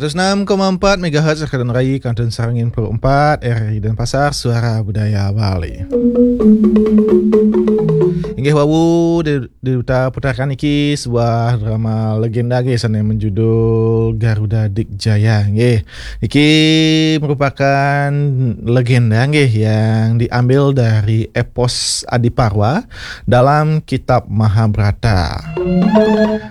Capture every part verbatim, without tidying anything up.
Seratus enam koma empat megahertz Rekadan Rai, Kantun Sarangin puluh empat, R R I Denpasar, Suara Budaya Bali. Inggih wau, di, di Duta puterakan niki sebuah drama legenda nggih, sane menjudul Garuda Dikjaya nggih. Niki merupakan legenda nggih yang diambil dari epos Adiparwa dalam kitab Mahabharata.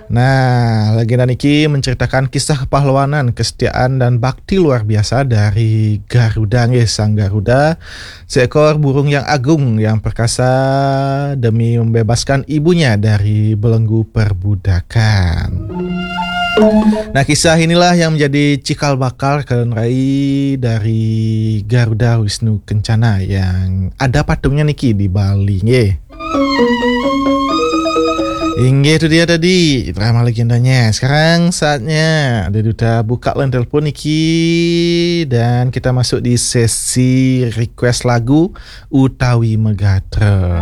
Nah, legenda niki menceritakan kisah kepahlawanan, kesetiaan dan bakti luar biasa dari Garuda nggih, Sang Garuda, seekor burung yang agung yang perkasa demi membebaskan ibunya dari belenggu perbudakan. Nah, kisah inilah yang menjadi cikal bakal Rekadan Rai dari Garuda Wisnu Kencana yang ada patungnya niki di Bali nggih. Inggih, itu dia tadi drama legendanya. Sekarang saatnya ada Duta buka line telepon niki dan kita masuk di sesi request lagu utawi megatra.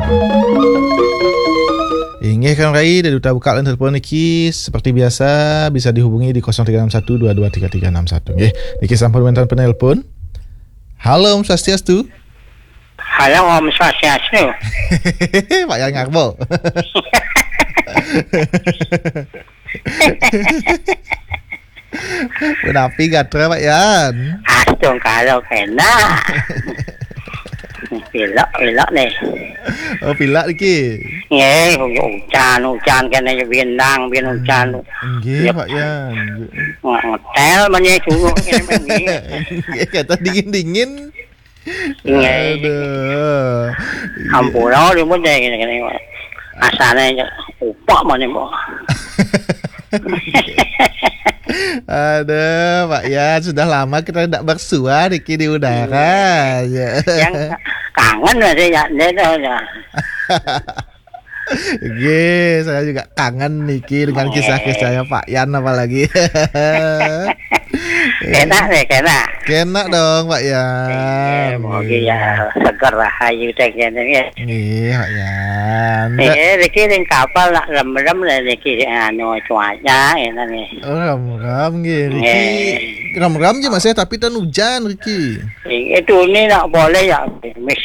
Inggih, Kang Rai, ada Duta buka line telepon niki seperti biasa bisa dihubungi di kosong tiga enam satu dua dua tiga tiga enam satu nggih. Niki sampun wenten penelpon. Halo, Om Swastiastu. Halo, Om Swastiastu. Pak Yan Ngarbo. Punapi gatra, Pak Yan? Astungkara kena. Pilek, pilek nih. Oh, pilek niki. Nggih, ujan, ujan kene bindang, bin ujan. Nggih, Pak Yan. Ngetel menye suruh kene. Nggih, kata dingin-dingin. Nggih. Aduh. Ampura, dia pun saya kene-kene. Asane upak mana, Mbok? Aduh, Pak Yan, sudah lama kita tidak bersua niki di udara. Ya. Yang kangen masih ya, dia tahu ya. Nggih, saya juga kangen niki dengan kisah-kisahnya Pak Yan apalagi. Enak nih, enak. Enak dong, Pak Yan. Iya, mau ya seger rahayu teh kene ya. Nggih, Pak Yan. Eh, niki ning kapal nak rem-rem lah niki anu cuaca ngene nih. Oh, rem-rem nggih. Niki rem-rem nggih, Mas, ya, tapi ten hujan niki. Itu ini nak boleh ya, Miss.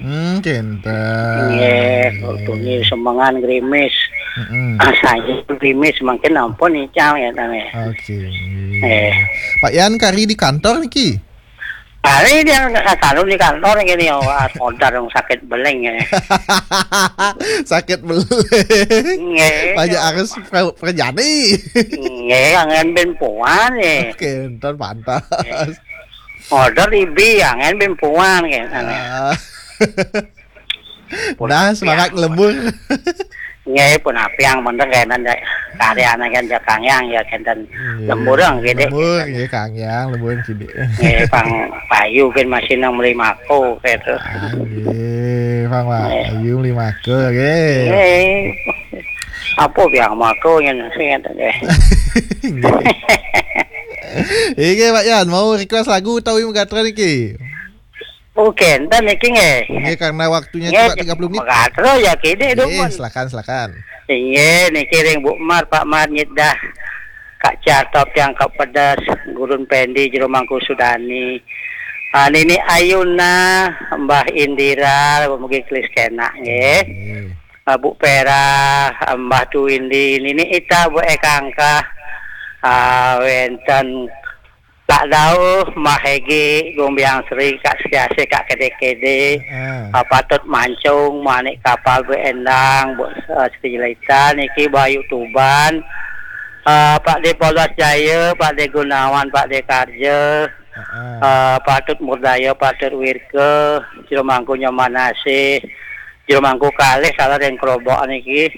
Hmm, kenten. Nggih, kok tuni semengan grimis. Heeh. Ah, saya grimis mungkin ampun ical ya tane. Oke. Eh. Pak Yan kari di kantor niki? Kari dia selalu di kantor gini ya, order yang sakit beling ya. Sakit beling. Nggih. Banyak harus pre- terjadi. Nggih, yang ben puan ya. Oke, ntar pantas. Order ibi yang ben puan ya. Ah. Nah, semangat lembur. Nggih, pun apiang bener kenen dek. Karyane kan Kang Yang ya kenten lembur nggih, Dek. Lembur nggih, Kang Yang, lembur kidik. Nggih, Pang Payu kan masih nang meli mako gitu. Ah, nggih, Pang Payu meli mako nggih. Nggih. Apa biang mako yang sing ngeten nggih. Nggih. Iki Pak Yan mau request lagu utawi megatra niki? Oke, enten niki nggih. Nggih, karena waktunya cuma tiga puluh menit. Megatra ya kene. Nggih, silakan, silakan. Inggih, niki ring Bu Mar, Pak Mar nyedah. Kak Cartop yang Kak Pedas, Gurun Pendi, Jero Mangku Sudani. Ah, Nini Ayuna, Mbah Indira, mugi kelis kena nggih. Nggih. Ah, Bu Pera, Mbah Tuwindi, Nini Ita, Bu Ekangka. Ah, wenten Kak Dauh, Mbah Hegi, Gumbiang Sri, Kak Siasih, Kak Kede-Kede, Heeh. Ah, Patut Mancung, Manik Kapal, Bu Endang, Bu, eh, Sri Jelita, niki Bayu Tuban, eh, Pak De Polos Jaya, Pak De Gunawan, Pak De Karja, Heeh. Eh, Patut Murdaya, Patut Wirke, Jero Mangku Nyomanasih, Jero Mangku kalih salah ring kerobok niki.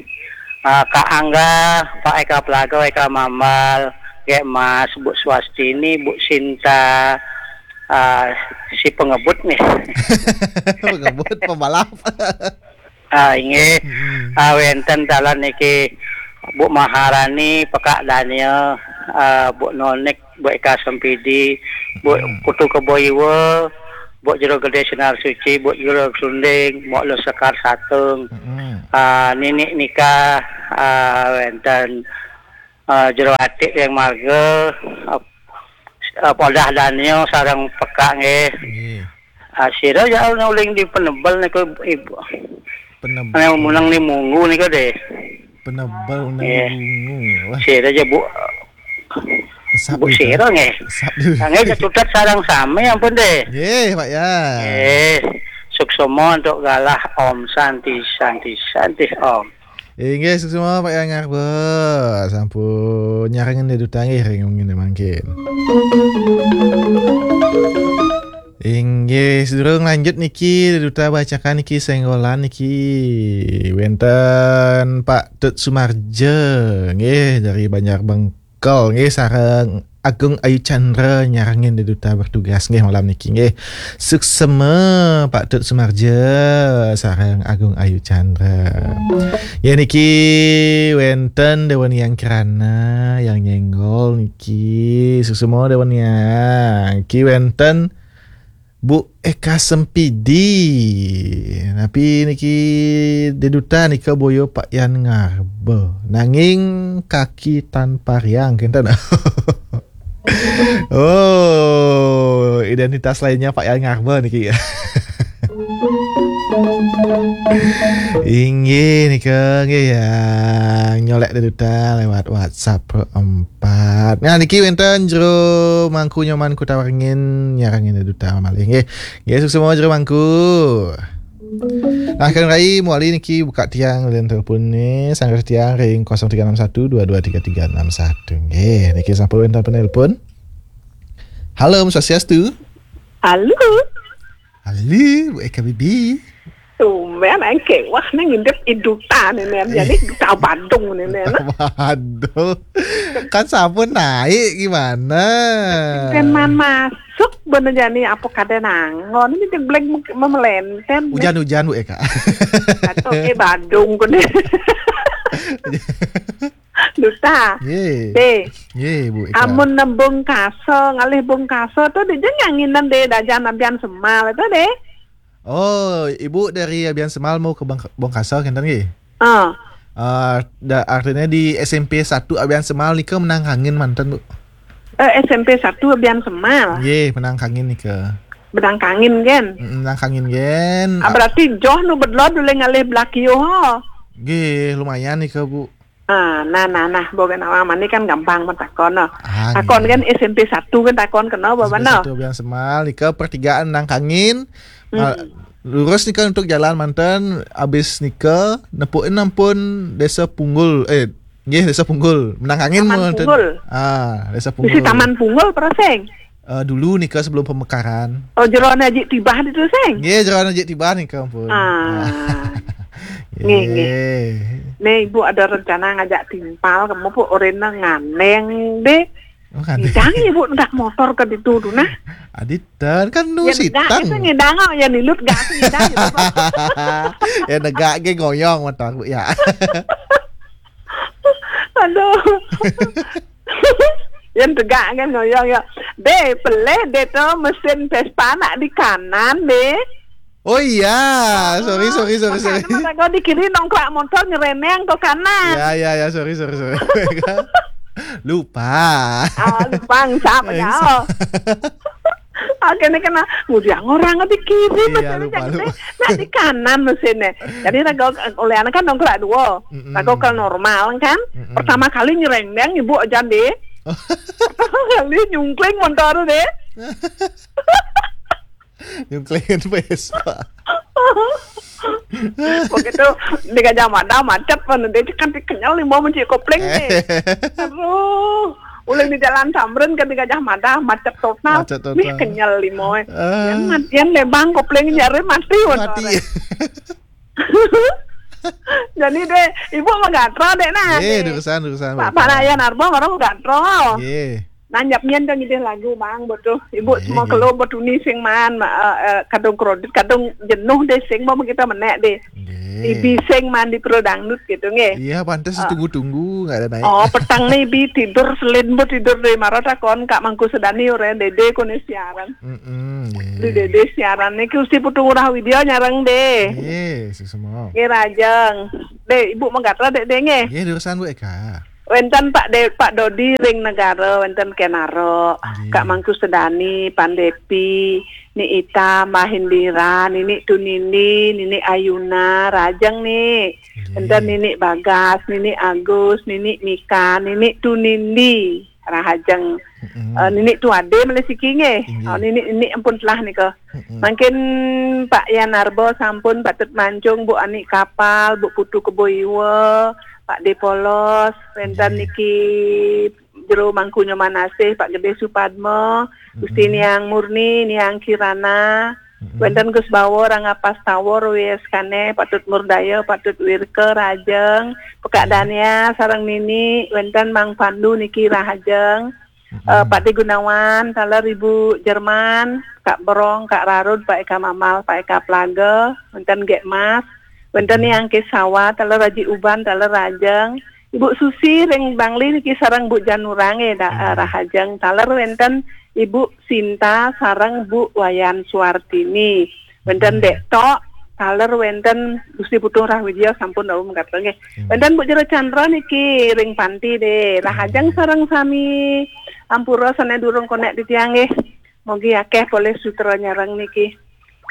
Ah, Kak Angga, Pak Eka Pelago, Eka Mambal, Gek Mas, Bu Swastini, Bu Sinta, ah, si pengebut nih. Pengebut, pembalap. Ah, inggih. Mm-mm. Ah, wenten talan niki Bu Maharani, Pekak Daniel, ah, Bu Nonik, Bu Eka Sempidi, Bu Mm-mm. Putu Kebo Iwa, Bu Jero Gede Sinar Suci, Bu Jero Sunding, Mok Lo Sekar Satung, Mm-mm. ah, Nini Nika, ah, wenten, ah, Jero Atik yang marga, ah, Ah, Podah Danio sareng Pekak nggih. Nggih. Ah, sira ya uling di Penebel niku, Ibu. Penebel. Anu muneng ni Munggu niku deh. Penebel nang Nggih. Bungu. Wah, Sira ya Bu, esap Bu gitu. Sira nggih. Esap dulu. Nggih, ya sudah sareng sami ampun deh. Nggih, Pak ya. Nggih. Suksema untuk galah Om Santi, Santi, Santi Om. Inggih, suksema Pak Yang Ngarba. Sampun nyarengin Dé Duta nggih ring wengi mangkin. Inggih, sedurung lanjut niki Dé Duta bacakan niki senggolan niki wénten Pak Tut Sumarja nggih dari Banjar Bengkel nggih sareng Agung Ayu Chandra nyarengin Dé Duta bertugas nggih malam niki nggih. Suksema Pak Tut Sumarja sareng Agung Ayu Chandra. Ya niki wénten Dewan Yang Kirana yang nyenggol niki. Suksema Dewan Yang. Ki wénten Bu Eka Sempidi. Napi niki Dé Duta nika boya Pak Yan Ngarba. Nanging kaki tanpa riang kinten. Oh, identitas lainnya Pak Yan Ngarba niki. Inggih nika nggih ya nyolek Dé Duta lewat WhatsApp empat. Nah niki wénten Jero Mangku Nyoman Kota Waringin nyarengin Dé Duta malih nggih. Nggih suksema Jero Mangku. Nah, Kang Rai, muali niki buka tiang dan telepon ni, sangger tiang ring kosong tiga enam satu dua dua tiga tiga enam satu. Nggih, niki sampun wénten penelpon. Halo, Om Swastiastu. Halo. Halo, Bu Eka Bibi. Tumben engke wah nang ngintip Dé Duta ni nen. Jadi Dé Duta Badung ni nen. Waduh. Kan sampun naik gimana? Teman masuk bener jani apa kada nangon ini jeblek memelenten. Hujan-hujan Bu Eka. Atau ke Badung kene. Duta. Ye. Dé. Ye Bu Eka. Amun nembung kaso ngalih bung kaso tuh dé jangan nginan dé dajan ampian semal itu dé. Oh, Ibu dari Abian Semal mau ke Bang-, Bongkaso kinten nggih? Ah. Eh, da-, artinya di S M P satu Abian Semal nika menang kangin manten, Bu. Eh, S M P satu Abian Semal. Nggih, menang kangin nika. Menang kangin kan? Mm, menang kangin kan. Ah, berarti joh nu bedlo dulu ngalih belakio ho. Nggih, lumayan nika, Bu. Ah, nah, nah, nah, boga nama mani kan gampang mentakon no. Ah, takon nggih. Kan S M P satu kan takon kena bawa S M P no. Satu Abian Semal, nika pertigaan nang kangin. Hmm. Nah, lurus nika untuk jalan manten, abis nika nepuin ampun Desa Punggul, eh, nggih Desa Punggul. Menang kangin Taman manten. Punggul. Ah, Desa Punggul. Bisi Taman Punggul perasing. Eh, dulu nika sebelum pemekaran. Oh, jeroan aji tibah itu sing. Nggih, jeroan aji tibah nika ampun. Ah. Ah. Nggih, nggih. Nggih. Nih, Ibu ada rencana ngajak timpal kamu pun orena nganeng deh. Oh, nganeng. Ngidang Ibu ndak motor ke ditu tu nah. Aditen kan nu ya, sitang. Itu ngidang oh, ya nilut gak ngidang gitu. Ya negak ge ngoyong motor Bu ya. Aduh. Yang tegak kan ngoyong ya. Deh, peleh deh tu mesin Vespa nak di kanan deh. Oh iya, sorry sorry sorry sorry. Kau di kiri nongkrak motor nyereneng ke kanan. Ya ya ya sorry sorry sorry. Lupa. Ah, lupa ngusap ya. Oke, ini kena ngudiang orang di kiri. Iya, lupa, lupa. Nah, di kanan mesinnya. Jadi raga oleh anak kan nongkrak dua. Mm-mm. Raga kalau normal kan. Mm-mm. Pertama kali nyerendeng Ibu aja deh. Pertama kali nyungkling motor deh. Nyungkling Vespa. Begitu di Gajah Mada macet pun dia kan kenyal lima menci kopling nih. Aduh. Uling di Jalan Tamrin ke di Gajah Mada macet total. Macet total. Mih kenyal lima. Ah. Yang mat-, yang lebang kopling nyari mati motor. Mati. Jadi deh, Ibu menggatro deh nah. Iya, urusan urusan. Pak Raya Narbo baru menggatro. Iya. Nanyap nyen dong ide lagu Bang betul. Ibu semua kelo betuni sing man ma-, eh, eh, kadung kredit, kadung jenuh deh sing mau kita menek deh. Ibi sing man di pro dangdut gitu nggih. Iya, pantes ditunggu-tunggu nggak ada naik. Oh, petang nih bi tidur selin bu tidur deh marah takon Kak Mangku Sedani orang dede kone siaran. Mm-mm, di dede siaran nih kusti putu ngurah widya nyareng deh. Iya, semua. Nggih rajeng. Deh, Ibu menggatra deh deh nggih. Iya, urusan Bu Eka. Wénten Pak De-, Pak Dodi ring Negara, wénten Kenaro, Nggih. Kak Mangku Sedani, Pandepi, Ni Ita, Mbah Indira, Nini Tunindi, Nini Ayuna, rahajeng, Ni. Nggih. Wénten Nini Bagas, Nini Agus, Nini Mika, Nini Tunindi, rahajeng. Mm-mm. Eh, Nini Tuade malih siki nggih. Nggih. Oh, Nini, Nini ampun telah nika. Mm-mm. Mangkin Pak Yan Arbo sampun patut mancung, Bu Ani Kapal, Bu Putu Kebo Iwa, Pak De Polos, wénten nggih. Niki Jero Mangku Nyoman Asih, Pak Gede Supadma, Gusti Mm-mm. Niang Murni, Niang Kirana, Mm-mm. wénten Gus Bawor, Rangapas Tawor, W S Kane, Patut Murdaya, Patut Wirka, rahajeng, Pekak Nggih. Dania, sareng Nini, wénten Mang Pandu niki rahajeng, Mm-mm. eh, Pak De Gunawan, taler Ibu Jerman, Kak Berong, Kak Rarud, Pak Eka Mamal, Pak Eka Plaga, wénten Gek Mas, wénten Mm-mm. Niang Kesawa, taler Raji Uban, taler rahajeng, Ibu Susi ring Bangli niki sareng Bu Janurang, eh, da-, eh, Nggih. rahajeng, taler wénten Ibu Sinta sareng Bu Wayan Suartini. Wénten Mm-mm. Dek Tok, taler wénten Gusti Putu Rahwidya sampun wau mekaten nggih. Nggih. Wénten Bu Jero Chandra niki ring Panti deh. Rahajeng Nggih. Sareng sami. Ampura sané durung konek titiang nggih. Mogi akéh polih sutra nyareng niki.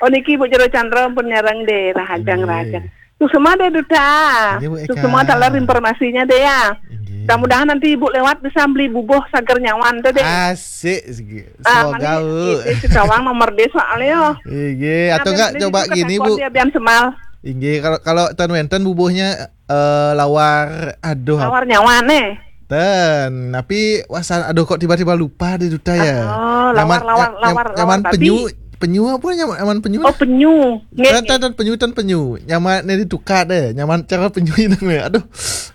Oh, niki Bu Jero Chandra pun nyareng deh, rahajeng, nggih. Rahajeng. Suksma deh, Duta. Nggih, Bu Eka. Suksma taler informasinya deh ya. Nggih. Mudah-mudahan nanti Ibu lewat bisa beli bubuh Sager Nyawan tuh deh. Asik, segi. Ah, semoga, mani, Bu. Itu, itu gawang nomor deh soalnya. Nggih, atau enggak coba gini, Bu. Dia biar semal. Nggih, kalau, kalau ten wénten bubuhnya eh, lawar, aduh, lawar nyawa nih. Ten, tapi wasan, aduh, kok tiba-tiba lupa deh, Duta ya. Oh, nyaman, lawar, lawar, nyam-, lawar, nyaman lawar penyu, babi. Penyu apa nyaman, nyaman penyu? Oh, penyu. Nggih, ten, nggih. Ten, ten, penyu, ten, penyu. Nyaman ini tukar deh, nyaman cara penyu ini nih. Aduh.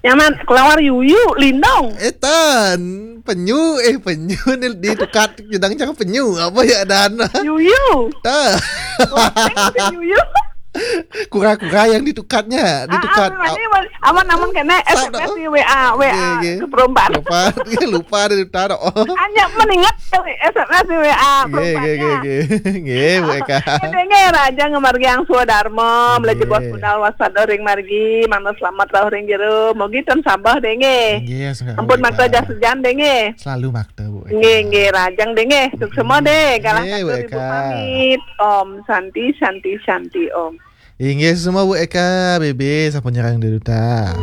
Nyaman kelawar yuyu, lindong. Eh, ten, penyu, eh, penyu nih ditukar jedang cara penyu. Apa ya, Dan? Yuyu. Ten. Wah, yuyu. Kura-kura yang ditukatnya, ah, ditukat. Ah, aman, aman, aman kena S M S di W A, W A. Nggih, nggih. Ke perompak. Lupa, lupa dari utara. Oh. Hanya meningat S M S di W A. Nggih, nggih, nggih, nggih. Nggih, Bu Eka. Nggih, nggih, rahajeng ngamargiang swadarma, nggih. Belajar bos budal waspada ring margi, mana selamat rauh ring jero. Mogi ten sabah deh, nggih. Nggih, ampun, Bu Eka. Makta jas hujan deh, nggih. Selalu makta, Bu Eka. Nggih, nggih, rahajeng deh, nggih. Suksma deh, galah, nggih, Bu Eka. Pamit. Om Santi, Santi, Santi, Om. Inggih, suksma Bu Eka, B B sampun nyarengin Duta.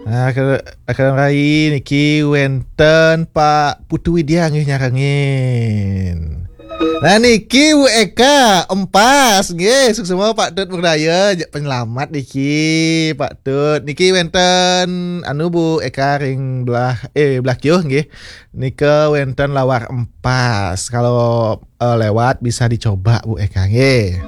Nah, ke, ke rai niki wénten Pak Putu Widya nggih nyarengin. Nah, niki Bu Eka, empas nggih, suksma Pak Tut Murdaya, penyelamat niki Pak Tut. Niki wénten anu Bu Eka ring belah, eh, belah kiuh nggih. Nika wénten lawar empas. Kalau, eh, lewat bisa dicoba, Bu Eka, nggih.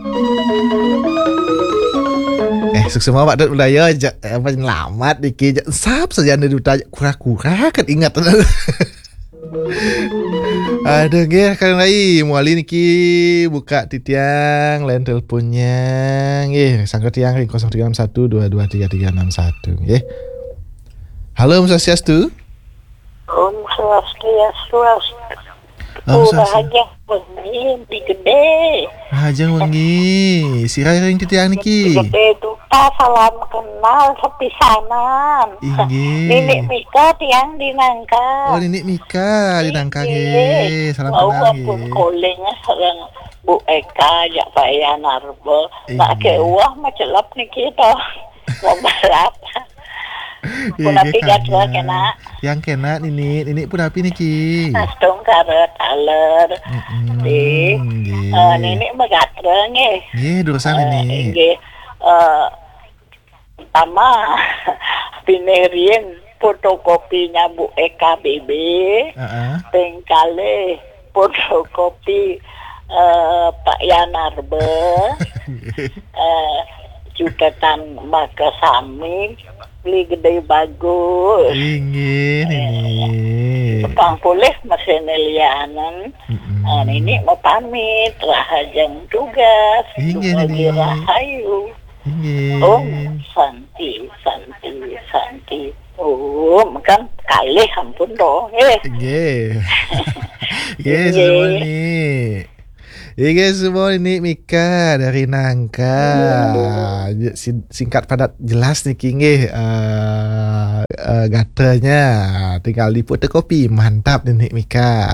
Eh, suksma Pak Dut Budaya, ja-, eh, penyelamat niki, ja-, sap saja anda Duta, kura-kura kan ingat. Aduh, nggih, kan rai, muali niki buka titiang, lain teleponnya, nggih, sangka tiang ring kosong tiga enam satu dua dua tiga tiga enam satu, nggih. Halo, Om Swastiastu. Om Swastiastu. Om Swastiastu. Rahajeng wengi, Bli Gede. Rahajeng wengi. Sira ring titiang niki? Bli Gede Duta, salam kenal sepisanan. Inggih. Nini Mika tiang di Nangka. Oh, Nini Mika di Nangka, inggih, nggih. Salam kenal, nggih. Wau ampun calling sareng Bu Eka, jak Pak Yan Arba. Inggih. Nak ke uah macelep niki to. Mau balap. Nggih, punapi nggih, gatra kena. Yang kena Nini, Nini punapi niki? Astungkara taler. Mm-mm, nggih. Eh, Nini magatra nggih. Nggih, durusang, eh, Nini. Nggih. Eh, pertama, pinirian fotokopinya Bu Eka B B. Heeh. Ping kalih fotokopi, eh, Pak Yan Arba. Nggih. Eh, jutetan maka sami, Bli Gede bagus. Inggih, eh, Nini. Pang pulih mesin lianan. Mm-mm. Eh, Nini mau pamit, rahajeng tugas. Inggih, Nini. Rahayu. Inggih. Om Santi, Santi, Santi. Om kan kalih ampun to, eh. Inggih. Nggih, inggih. Suksma, Nini. Inggih, semua ini Mika dari Nangka. Sin- singkat, padat, jelas niki nggih, eh, eh, gatranya. Tinggal difotokopi. Mantap niki Mika.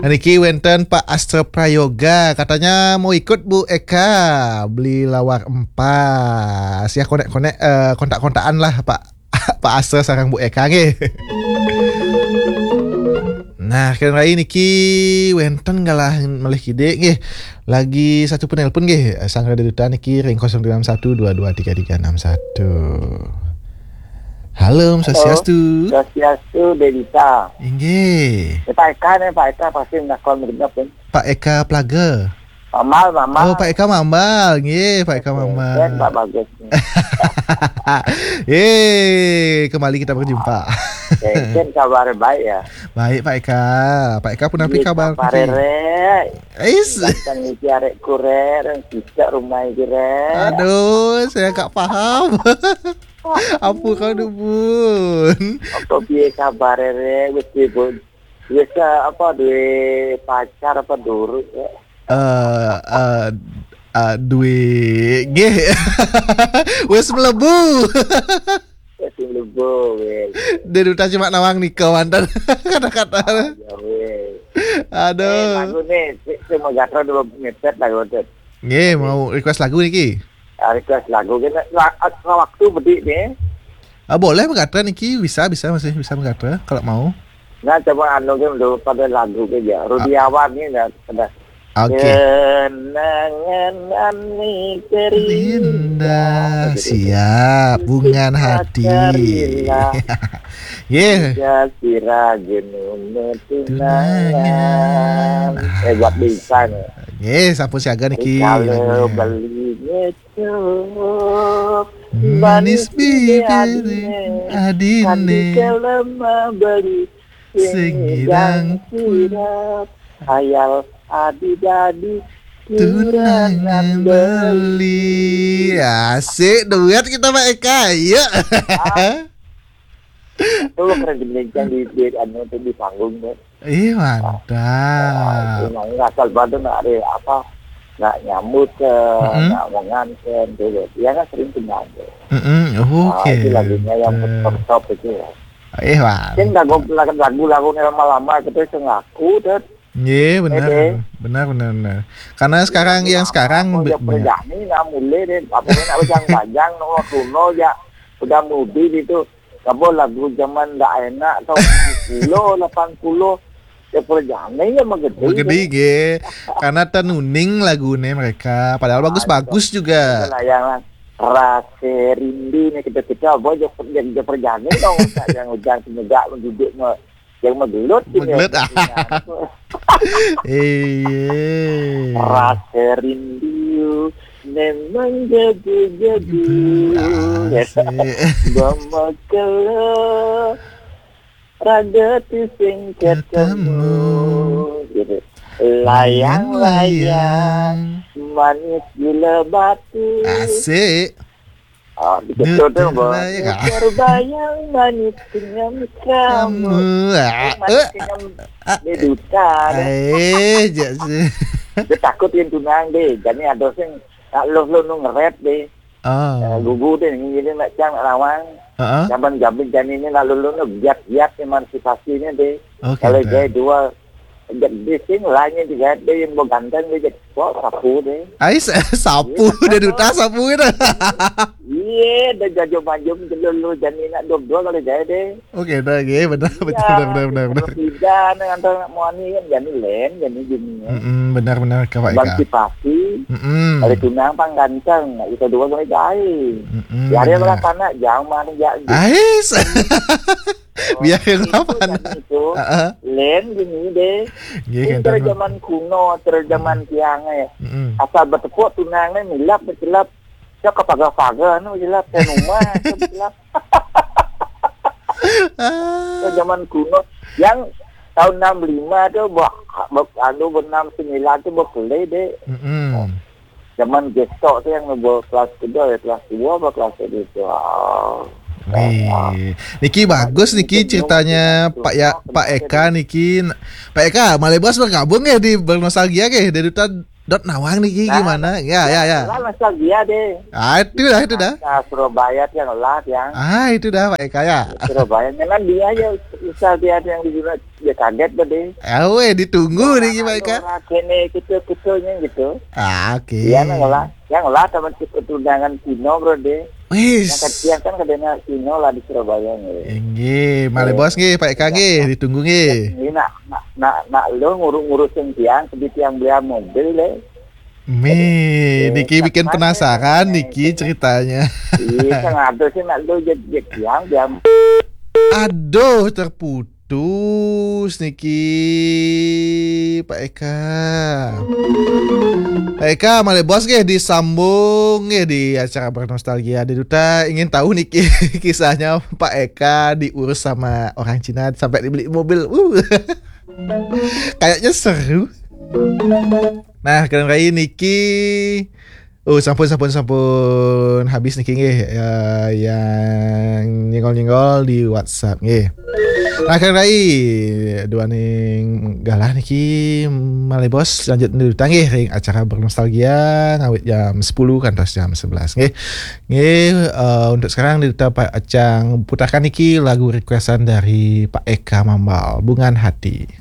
Nah, niki wenten Pak Astra Prayoga, katanya mau ikut Bu Eka beli lawar empas. Ya, konek-konek, eh, kontak-kontakan lah Pak Pak Astra sareng Bu Eka nggih. Nah, kira niki wenten galah malih kidik nggih. Lagi satu penelpon nggih. Sang Radio Duta niki ring kosong tiga enam satu dua dua tiga tiga enam satu. Halo, Om Swastiastu. Swastiastu, Dedita. Inggih. Ya, Pak Eka nih, Pak Eka pasti menakon bener pun. Pak Eka Plaga. Mamal, Mamal. Oh, Pak Eka Mamal. Nggih, Pak Eka Mamal. Kan Pak Bagus nih. Eh, kembali kita berjumpa. Kan kabar baik ya. Baik, Pak Eka. Pak Eka pun apa kabar? Kabar rek. Ais. Datang iki arek kurek, kita rumah iki rek. Aduh, saya gak paham. Apa kau dubun? Apa piye kabar rek? Wis dibun. Wis, eh, apa, duwe pacar apa durung, ya? Eh, eh, eh, duwe nggih. Wis mlebu. Wis mlebu, wis. Dia duta cuma nawang nika mantan. Kata-kata. Ya, wis. Aduh. Eh, lagu nih, si, si Megatra dulu ngechat lagu tuh. Nggih, mau request lagu niki. Ah, request lagu kena la- ah, waktu bedik nih. Ah, boleh Megatra niki, bisa, bisa, masih bisa Megatra kalau mau. Nah, coba anu kan dulu pada lagu ke ya. Rudi Awan ni dah pada. Oke. Kenangan ani terindah. Indah, siap, bungan hati. Karina. Yeah. Tiga sira genune tunangan. Tunangan. Eh, buat bisa nih. Nggih, sampun siaga niki. Kalau beli ngecok. Manis bibir adine. Adine. Andi kelem beli. Sing ngidang sirap. Hayal adi-dadi. Tunangan beli. Asik, duet kita, Pak Eka. Iya. Tuh keren, demikian di, di, anu, tuh di panggung tuh. Ih, mantap. Emang asal bantu nak ada apa, nak nyambut ke, nak menganten tuh. Dia kan sering kenal tuh. Mm-mm. Oke. Itu lagunya yang top itu ya. Ih, mantap. Sing lagu, lagu, lagu lama-lama kita sing aku tuh. Nggih, benar. Benar, benar, benar. Karena sekarang, yang sekarang, be- banyak. Perjani nak mulai deh, apa nak bajang-bajang, nomor kuno ya. Udah mobil itu. Apa lagu zaman ndak enak tahun tujuh puluh, lapan puluh. Ya perjani ya menggede. Menggede, nggih. Karena tenuning lagune mereka, padahal bagus-bagus juga. Layangan rasa rindu nih kita-kita apa aja, aja perjani dong. Yang udah semenjak duduk me- yang menggelut gitu. Menggelut. Iya. Rasa rindu memang gabu-gabu. Gabu, asik. Bama kelo raga ti sing ketemu. Ketemu. Gitu. Layang-layang manis gula batu. Asik. Ah, gitu dong, Bang. Terbayang manis kenyam kamu. Kamu, ah, eh, manis kenyam. Dia duta deh. Eh, jak sih. Dia takut yang tunang deh. Jadi ada sing nak lo lo nu ngeret deh. Ah. Eh, gugu deh, ini nak cang nak lawang. Heeh. Zaman jamin jani ini nak lo lo nu biat-biat emansipasinya deh. Oke. Kalau jaya dua, di sing lainnya digade yang mau ganteng dia jadi, wah, sapu deh. Ais, sapu, dia duta sapu gitu. Iya, dia jajo majum dulu jani nak dua-dua kalau jaya deh. Oke, dah, oke, benar, benar, benar, benar, benar. Tidak, nih, antara nak muani kan jani len, jani gini ya. Mm-mm, benar, benar, Kak, Pak Eka. Emansipasi, mm-mm, kalau tunang pang ganteng, nak kita dua kalau jaya. Mm-mm, ya, ada benar. Lah sana, jauh mana jauh. Ais. Biar yang apa itu? Heeh. Len gini deh. Nggih, ini terus zaman kuno, terus zaman tiang eh. Mm-mm. Asal bertepuk tunangnya milap bercelap. Ya kepaga-paga nu jelap ke rumah, itu jelap. Ah. Itu zaman kuno. Yang tahun enam lima tu, bah, bah, anu, enam sembilan tu berkelai deh. Mm-mm. Zaman gestok tu yang nubuh kelas kedua ya, kelas dua apa kelas kedua tu. Ah. Wih, niki bagus niki ceritanya Pak ya, Pak Eka niki. Pak Eka, malih bos bergabung ya di Bernostalgia ke, dari duta dot nawang niki gimana? Ya, ya, ya. Lah nostalgia deh. Ah, itu dah, itu dah. Nah, Surabaya tiang lah tiang. Ah, itu dah Pak Eka ya. Surabaya memang dia ya nostalgia tiang di Surabaya. Ya kaget bro deh. Ah, weh, ditunggu niki Pak Eka. Kene gitu, gitu gitu. Ah, oke. Iya nang lah. Yang lah teman keturunan Cino bro deh. Wis. Yang kecil kan kadena Cino lah di Surabaya nih. Inggih, malih bos nggih, Pak Eka nggih, ditunggu nggih. Ini nak nak nak, nak lo ngurus-ngurusin tiang, sedih tiang beli mobil deh. Mih, niki bikin penasaran niki ceritanya. Iya, kan ada sih nak lo jadi tiang, tiang. Aduh, terputus niki Pak Eka. Pak Eka, malih bos nggih disambung nggih di acara Bernostalgia. Di duta ingin tahu niki kisahnya Pak Eka diurus sama orang Cina sampai dibeli mobil. Uh. Kayaknya seru. Nah, keren rai niki. Oh, sampun, sampun, sampun habis niki nggih, ya, yang nyenggol-nyenggol di WhatsApp nggih. Nah, keren rai duaning galah niki malih bos lanjut niki nggih ring acara Bernostalgia ngawit jam sepuluh kantos jam sebelas nggih. Nggih, eh, untuk sekarang niki pacang putarkan niki lagu requestan dari Pak Eka Mambal, Bungan Hati.